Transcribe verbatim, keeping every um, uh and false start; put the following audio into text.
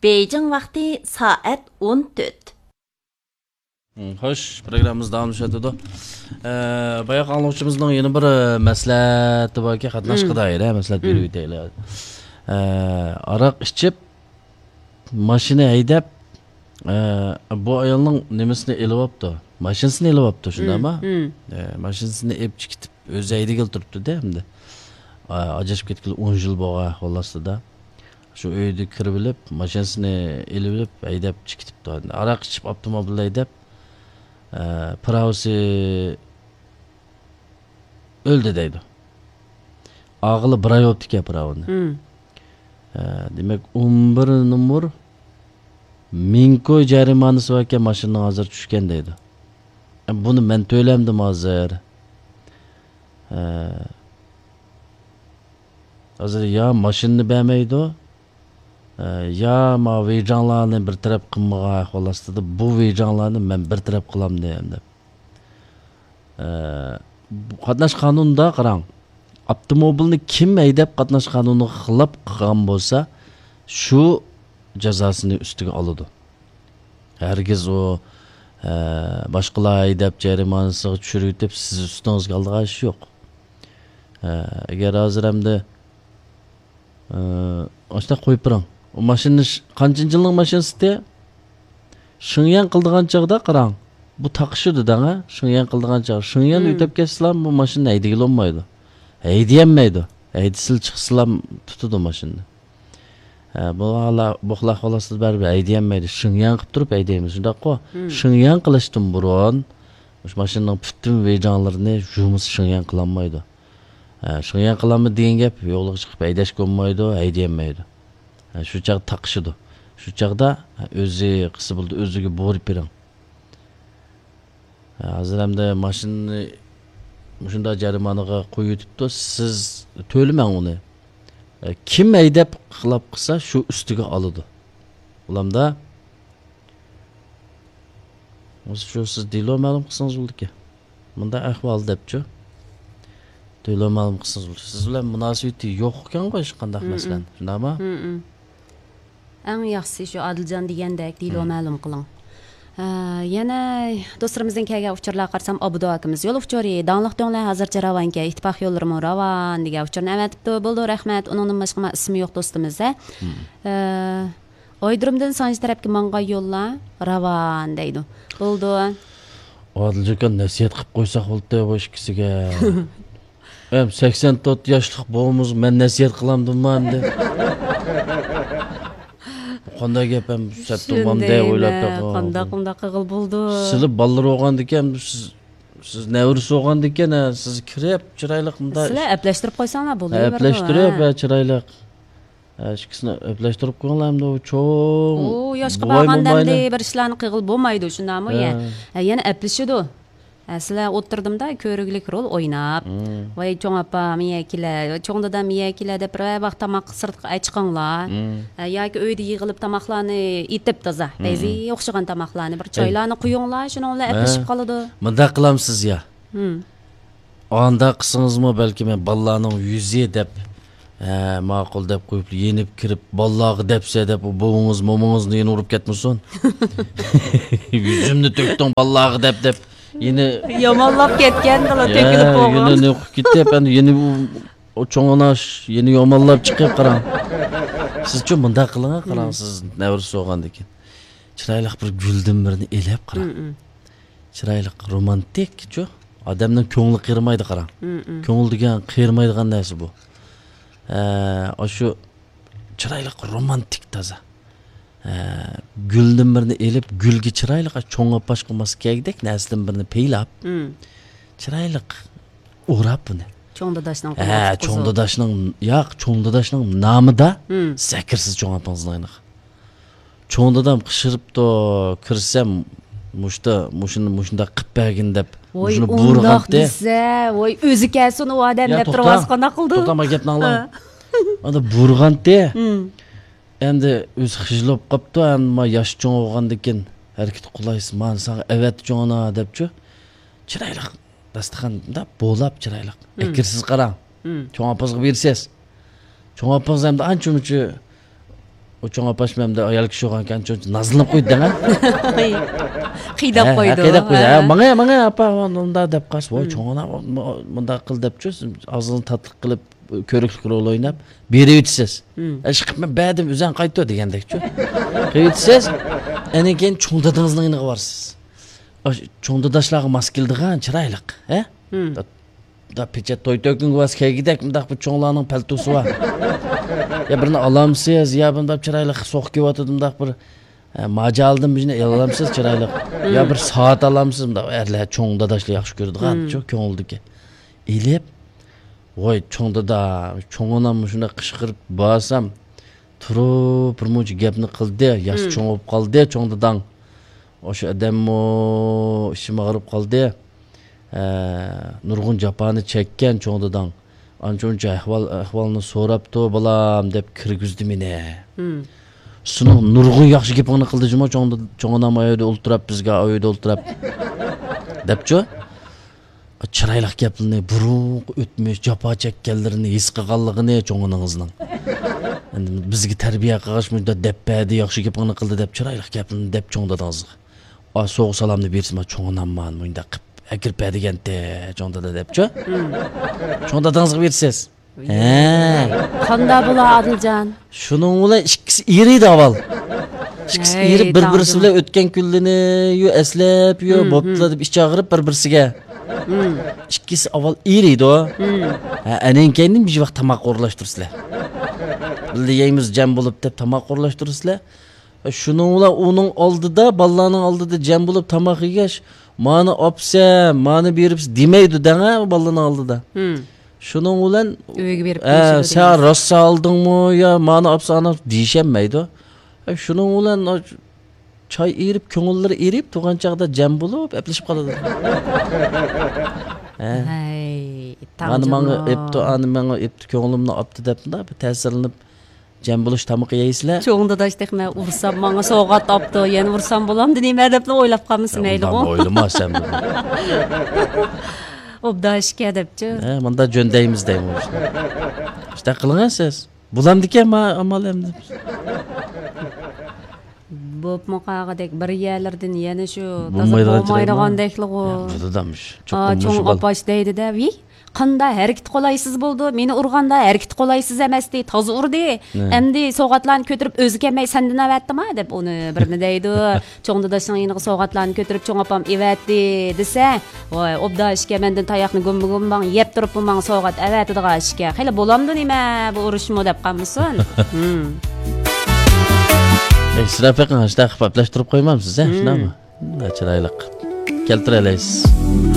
بېيجىڭ ۋاقتى سائەت ئون تۆت. مم، خوش، پروگراممىمىز داۋاملىشىۋاتىدۇ. ئە، باياقى ئاڭلىغۇچىمىزنىڭ يەنە بىر، ئە، مەسلىھەتى باركەن، قاتناشقا دائىر، ئە، مەسلىھەت بېرىۋېتەيلى. ئە، ئاراق ئىچىپ، ماشىنا ھەيدەپ، ئە، بۇ ئايالنىڭ نېمىسىنى ئېلىۋاپتۇ، ماشىنىسىنى ئېلىۋاپتۇ، شۇنداقمۇ؟ ئە، ماشىنىسىنى ئېلىپ چىقىپ، ئۆزى ھەيدىگىلى تۇرۇپتۇ-دە، ئەمدى. ئا، ئاجرىشىپ كەتكىلى ئون يىل بولغان ئەھۋال ئاستىدا. شۇ ئۆيدە كىرىۋېلىپ، ماشىنىسىنى ئېلىۋېلىپ، ھەيدەپ چىقىپ كېتىپتۇ. ئاراق ئىچىپ، ئاپتوموبىل ھەيدەپ، ئە، پىراۋىسى ئۆلدى دەيدۇ. ئاغىلى بىر ئاي بوپتىكەن پىراۋىنى. ئە، دېمەك، ئون بىر نومۇر مىڭ كوي جەرىمانىسى باركەن، ماشىنىنىڭ ھازىر چۈشكەن دەيدۇ. ئە، بۇنى مەن تۆلەمدىم ھازىر. ئە، ھازىر يا ماشىنىنى بەرمەيدۇ، ئە، يا ما ۋېيجاڭلارنى بىر تەرەپ قىلمىغان ئەھۋال ئاستىدا بۇ ۋېيجاڭلارنى مەن بىر تەرەپ قىلامدىم دەپ. ئە، بۇ قاتناش قانۇنىدا قاراڭ، ئاپتوموبىلنى كىم ھەيدەپ قاتناش قانۇنىغا خىلاپ قىلغان بولسا، شۇ جازاسىنى ئۈستىگە ئالىدۇ. ھەرگىز ئۇ، ئە، باشقىلار ھەيدەپ جەرىمانىسىغا چۈشۈرۈۋېتىپ، سىز ئۈستىڭىزگە ئالىدىغان ئىش يوق. ئە، ئەگەر ھازىر ئەمدى، ئە، ئاشۇنداق قويۇپ بېرىڭ. ئۇ ماشىنا ش-، قانچىنچى يىلنىڭ ماشىنىسى؟ شېڭيەن قىلىدىغان چاغدا قاراڭ. بۇ تاقىشىدۇ دەڭ، ھە؟ شېڭيەن قىلىدىغان چاغ. شېڭيەن ئۆتۈپ كەتسىلا، بۇ ماشىنا ھەيدىگىلى بولمايدۇ. ھەيدىيەلمەيدۇ. ھەيدىسىلا چىقسىلا تۇتىدۇ ماشىنىنى. ھە، بۇ ھالا-، بۇ خىل ئەھۋال ئاستىدا بەرىبىر ھەيدىيەلمەيدۇ. شېڭيەن قىلىپ تۇرۇپ ھەيدەيمىز، شۇنداققۇ؟ شېڭيەن قىلىشتىن بۇرۇن مۇشۇ ماشىنىنىڭ پۈتۈن ۋېيجاڭلىرىنى يۇمىسى شېڭيەن قىلالمايدۇ. ھە، شېڭيەن قىلالمىدى دېگەن گەپ، يولغا چىقىپ ھەيدەشكە بولمايدۇ، ھەيدىيەلمەيدۇ. ھە، شۇ چاغ تاقىشىدۇ. شۇ چاغدا، ھە، ئۆزى قىلسا بولىدۇ، ئۆزىگە بۇيرۇپ بېرىڭ. ھە، ھازىر ئەمدى ماشىنىنى مۇشۇنداق جەرىمانىغا قويۇۋېتىپتۇ، سىز تۆلىمەڭ ئۇنى. ھە، كىم ھەيدەپ خىلاپ قىلسا، شۇ ئۈستىگە ئالىدۇ. ئۇلامدا، شۇ سىز دېلو مەلۇم قىلسىڭىز بولىدىكەن. مۇنداق ئەھۋال دەپچۇ. دېلو مەلۇم قىلسىڭىز بولىدۇ. سىز بىلەن مۇناسىۋىتى يوق ئىكەنغۇ ھېچقانداق مەسىلەن. شۇنداقمۇ؟ ئەڭ ياخشىسى شۇ ئادىلجان دېگەندەك دېلو مەلۇم قىلىڭ. ئە، يەنە دوستلىرىمىزدىن كەلگەن ئۇچۇرلارغا قارىسام، ئابدۇ ئاكىمىز، يول ئۇچۇرى، داڭلىق دۆڭلەر ھازىرچە راۋانكەن، ئىتتىپاق يوللىرىمۇ راۋان دېگەن ئۇچۇرنى ئەۋەتىپتۇ. بولىدۇ، رەھمەت. ئۇنىڭدىن باشقا مانا ئىسمى يوق دوستىمىز، ھە. ئە، ئايدۇرۇمدىن سانجى تەرەپكە ماڭغان يوللار راۋان دەيدۇ. بولىدۇ. ئادىلجان ئاكا، نەسىھەت قىلىپ قويساق بولدى بۇ ئىككىسىگە. ھەم سەكسەن تۆت ياشلىق بولمىسا مەن نەسىھەت قىلامدىممۇ ئەمدى؟ قانداق گەپ ھەم سەتتۇمام دەي ئويلاپ بېقىڭ. قانداق، قانداق قىلغىلى بولىدۇ؟ سىلى بالىلار بولغاندىكىن، سىز، سىز نەۋرىسى بولغاندىكىن، ھە، سىز كىرىپ چىرايلىق مۇنداق. سىلەر ئەپلەشتۈرۈپ قويساڭلار بولدى. ئەپلەشتۈرۈپ، ھە، چىرايلىق. ھە، ئىككىسىنى ئەپلەشتۈرۈپ قويۇڭلار ئەمدى، ئۇ چوڭ. ئۇ ياشقا بارغاندا ئەمدى بىر ئىشلارنى قىلغىلى بولمايدۇ، شۇنداقمۇ؟ ھە. ھە، يەنە ئەپلىشىدۇ. ھە، سىلەر ئولتۇردۇمدا كۆرۈگلۈك رول ئويناپ، ۋاي چوڭ ئاپام يەكىلە، چوڭ دادام يەكىلە دەپ بىر ۋاق تاماق سىرتقا ئەچىقىڭلار. ھە، ياكى ئۆيدە يىغىلىپ تاماقلارنى ئېتىپ تازا، بەزى ئوخشىغان تاماقلارنى بىر چايلارنى قۇيۇڭلار، شۇنىڭ بىلەن ئەپلىشىپ قالىدۇ. مۇنداق قىلامسىز يا؟ ئانداق قىلسىڭىزمۇ بەلكىم بالىلارنىڭ يۈزى دەپ، ھە، ماقۇل دەپ قويۇپ، يېنىپ كىرىپ، بالىلارغا دەپسە دەپ، ئۇ بوۋىڭىز، مومىڭىزنى يەنە ئۇرۇپ كەتمىسۇن. يۈزۈمنى تۆكتۈڭ بالىلارغا دەپ، دەپ. يەنە يامانلاپ كەتكەن بالا يا، تۆكۈلۈپ يەنە بولغان. نوقۇپ كېتىپ، ئەمدى يەنە ئۇ، ئۇ چوڭ ئاناش، يەنە يامانلاپ چىقىپ قاراڭ. سىزچۇ مۇنداق قىلىڭ، قاراڭ، سىز نەۋرىسى بولغاندىكىن. چىرايلىق بىر گۈلدىن بىرنى ئېلىپ قاراڭ. چىرايلىق، رومانتىكچۇ. ئادەمنىڭ كۆڭلى قېرىمايدۇ، قاراڭ. كۆڭۈل دېگەن قېرىمايدىغان نەرسە بۇ. ئە، ئاشۇ چىرايلىق، رومانتىك، تازا. ئە، گۈلدىن بىرنى ئېلىپ، گۈلگە چىرايلىق، چوڭ ئاپاشقا ماس كەلگۈدەك نەرسىدىن بىرنى پەيلاپ، چىرايلىق ئوراپ بۇنى. چوڭ داداشنىڭ ھە، قولىغا چوڭ تۇتقۇزۇپ. داداشنىڭ، ياق، چوڭ داداشنىڭ نامىدا سەكرىسىز چوڭ ئاپىڭىزنىڭ يېنىغا. چوڭ دادام قىچقىرىپتۇ، كىرسەم، مۇشتا، مۇشۇنى، مۇشۇنداق قىپ بەرگىن دەپ، ۋوي، مۇشۇنى ئۇنداق بۇيرۇغانتى. دېسە، ۋوي، ئۆزى كەلسۇن ئۇ ئادەم يا، دەپ توختا، تۇرۇۋالسا قانداق قىلىدۇ؟ توختا، ما گەپنى ئاڭلاڭ. ھە. ئاندا بۇيرۇغانتى. ھىم. ئەمدى ئۆزى خىجىل بولۇپ قاپتۇ، ئەمما ياش چوڭ بولغاندىكىن ھەرىكىتى قولايسىز، مانا ساڭا ئەۋەتتى چوڭ ئانا دەپچۇ. چىرايلىق داستىخان مۇنداق بولاپ چىرايلىق. ھىم. ئەكىرسىز قاراڭ. ھىم. چوڭ ئاپىڭىزغا بېرىسىز. چوڭ ئاپىڭىز ئەمدى ئانچە مۇنچە ئۇ چوڭ ئاپاش مەمدە ئايال كىشى بولغانكەن، چوڭ نازلىنىپ قويدى دەڭە. قىيداپ قويدى. قىيداپ قويدى. ھە، ماڭا، ماڭا، ئاپا، مۇنداق دەپ قارىسا، ۋاي، چوڭ ئانا، مۇنداق قىل دەپچۇ، ئاغزىنى تاتلىق قىلىپ، كۆرۈكلۈك رول ئويناپ، بېرىۋېتىسىز. ئىشقىلىپ، مەن بەردىم، ئۆزەڭ قايتتۇ دېگەندەكچۇ. قىلىۋېتىسىز، ئەنىڭ كېيىن چوڭ دادىڭىزنىڭ يېنىغا بارىسىز. ئاشۇ چوڭ داداشلارغا ماس كېلىدىغان چىرايلىق، ھە؟ دا پېچەت توي تۆكۈنگە ۋاز كەلگۈدەك مۇنداق بىر چوڭلارنىڭ پەلتوسى بار. يا بىرنى ئالامسىز، يا بۇنداق چىرايلىق سوق كېلىۋاتىدۇ، مۇنداق بىر، ئە، ماجالدىن بىرنى ئالامسىز چىرايلىق. يا بىر سائەت ئالامسىز، مۇنداق ئەرلەر، چوڭ داداشلار ياخشى كۆرىدىغان، شۇ كۆڭۈلدىكى. ئېلىپ، ۋاي، چوڭ دادا، چوڭ ئانام مۇشۇنداق قىچقىرىپ بارسام، تۇرۇپ بىر مۇنچە گەپنى قىلدى، ياش چوڭ بولۇپ قالدى، چوڭ داداڭ. ئاشۇ ئادەممۇ ئىچىم ئاغرىپ قالدى. ھە، نۇرغۇن جاپانى چەككەن چوڭ داداڭ. ئانچە-ئۇنچە ئەھۋال، ئەھۋالنى سوراپتۇ، بالام، دەپ كىرگۈزدى مېنى. سېنىڭ نۇرغۇن ياخشى گېپىڭنى قىلدى جۇمۇ، چوڭ داد-، چوڭ ئانام ئايدا ئولتۇراپ، بىزگە ئايدا ئولتۇراپ. دەپچۇ؟ چىرايلىق گەپلىرىنى، بۇرۇنقى ئۆتمۈش، جاپا چەككەنلىرىنى ھېس قىلغانلىقىنى چوڭ ئانىڭىزنىڭ. ئەمدى بىزگە تەربىيە قىلغاچ، مۇنداق دەپ بەردى، ياخشى گېپىڭنى قىلدى دەپ، چىرايلىق گەپلىرىنى دەپ چوڭ داداڭىزغا. ئا، سوغۇق سالامنى بېرىسىز، ما چوڭ ئانام مانا مۇنداق قىپ ئەكىرىپ بەردىگەنتى، چوڭ دادا دەپچۇ. چوڭ داداڭىزغا بېرىسىز. ھە. قاندا بۇلار، ئادىلجان؟ شۇنىڭ بىلەن ئىككىسى ئېرىيدۇ ئاۋۋال. ئىككىسى ئېرىپ، بىر-بىرسى بىلەن ئۆتكەن كۈنلىرىنى يۇ ئەسلەپ، يۇ بوپتۇ دەپ ئىچ ئاغرىپ بىر-بىرسىگە. ئىككىسى ئاۋۋال ئېرىيدۇ. ھە، ئەنەن كەينىدىن بىر ۋاق تاماق ئورۇنلاشتۇرىسىلەر. بىللە يەيمىز جەم بولۇپ دەپ تاماق ئورۇنلاشتۇرىسىلەر. شۇنىڭ بىلەن ئۇنىڭ ئالدىدا، بالىلارنىڭ ئالدىدا جەم بولۇپ تاماق يېگەچ، مانا ئاپسەن، مانا بېرىپسەن دېمەيدۇ دەڭە بالىلارنىڭ ئالدىدا. شۇنىڭ بىلەن ئۆيگە بېرىپ، ھە، سەن راست ئالدىڭمۇ يا مانا ئاپسەن ئانا دېيىشەلمەيدۇ. ھە، شۇنىڭ بىلەن چاي ئېرىپ، كۆڭۈللىرى ئېرىپ، تۇرغان چاغدا جەم بولۇپ ئەپلىشىپ قالىدۇ. ھە. ھەي، مانا ماڭا ئېپتۇ، ئانا ماڭا ئېپتۇ، كۆڭلۈمنى ئاپتۇ دەپ مۇنداق بىر تەسىرلىنىپ، جەم بولۇش تامىقى يەيسىلەر. چوڭ داداش تېخى مەن ئۇرسام ماڭا سوۋغات ئاپتۇ، يەنە ئۇرسام بولامدۇ نېمە دەپلا ئويلاپ قالمىسا مەيلىغۇ. ئويلىما سەن بۇنى. ئوبدان ئىكەن دەپچۇ. ھە، مۇندا جۆندەيمىز دەيمۇ. شۇنداق قىلىڭە سىز. بولامدىكەن ما ئامال ئەمدى. بوپمۇ قالغۇدەك بىر يەرلىرىدىن يەنە شۇ تازا بولمايدىغان بولمايدىغاندەكلىغۇ. يا، بۇ دادام شۇ، چوقۇم چوڭ مۇشۇ بال- ئاپاش دەيدىدە، ۋىي، قاندا ھەرىكىتى قولايسىز بولدى. مېنى ئۇرغاندا ھەرىكىتى قولايسىز ئەمەستى، تازا ئۇردى. ئەمدى سوۋغاتلارنى كۆتۈرۈپ ئۆزى كەلمەي سەندىن ئەۋەتتىما دەپ ئۇنى بىرنى دەيدۇ. چوڭ داداشنىڭ يېنىغا سوۋغاتلارنى كۆتۈرۈپ چوڭ ئاپام ئېۋەتتى دېسە، ۋاي، ئوبدان ئىكەن، مەندىن تاياقنى گۇمبا-گۇمباڭ يەپ تۇرۇپمۇ ماڭا سوۋغات ئەۋەتىدىغان ئىكەن. خېلى بولامدۇ نېمە بۇ ئۇرۇشمۇ دەپ قالمىسۇن. ھىم. ئىسراپ بېقىڭ، شۇنداق قىلىپ ئەپلەشتۈرۈپ قويمامسىز، ھە؟ شۇنداقمۇ؟ شۇنداق چىرايلىق. كەلتۈرەلەيسىز.